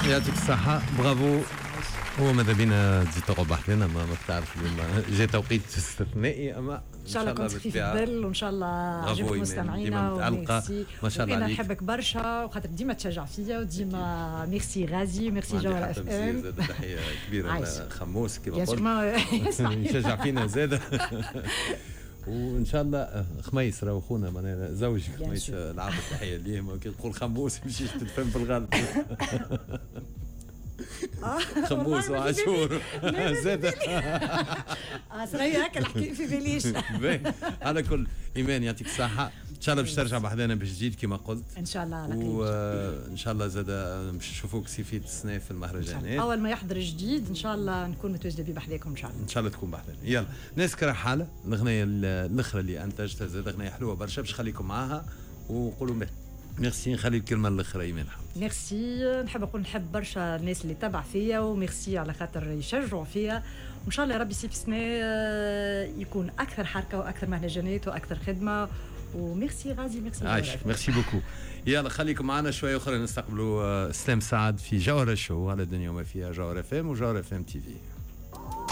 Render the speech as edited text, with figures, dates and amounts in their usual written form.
يعطيك الصحه، برافو. هو ماذا بينا تزيد تقعد بحذنا، ما تعرف اليوم جا توقيت استثنائي، اما ان شاء الله كنت خفيف الظل وان شاء الله عجبت مستمعينا. وميرسي، ما شاء الله عليك. نحبك برشا وخاطر ديما تشجع فيا وديما ميرسي غازي، ميرسي جوهر اف ام. تحية كبيرة خموس كما قلت، يشجع فينا زاد. وان شاء الله خميس راهو خونا، معناها زوجي خميس العابد، تحية ليه. كي تقول خموس يمشيش تتفهم في الغلط. خموس وعاشور زاد. صغير هكا الحكي في باليش. على كل، ايمان يعطيك الصحه، ان شاء الله باش ترجع بحذانا بجديد كما قلت. ان شاء الله على خير. وان شاء الله زاد باش نشوفوك صيفية السنة في المهرجانات. اول ما يحضر جديد ان شاء الله نكون متواجدة به بحذاكم ان شاء الله. ان شاء الله تكون بحذانا. يلا ناس حاله الاغنية الاخرى اللي انتجتها زاد اغنية حلوة برشا، باش خليكم معاها وقولوا ميرسي. نخلي الكلمة الاخرى ايمان حمد. ميرسي، نحب نقول نحب برشا الناس اللي تبع فيا، وميرسي على خاطر يشجعوا فيا، وان شاء الله يا ربي صيف السنة يكون اكثر حركة واكثر مهرجانات واكثر خدمه. وميرسي غازي، ميرسي. عايش، merci beaucoup. يلا خليكم معنا شوية اخرى نستقبلوا اسلام سعد في جوهرة شو على الدنيا وما فيها، جوهرة اف ام وجوهرة اف ام تي في.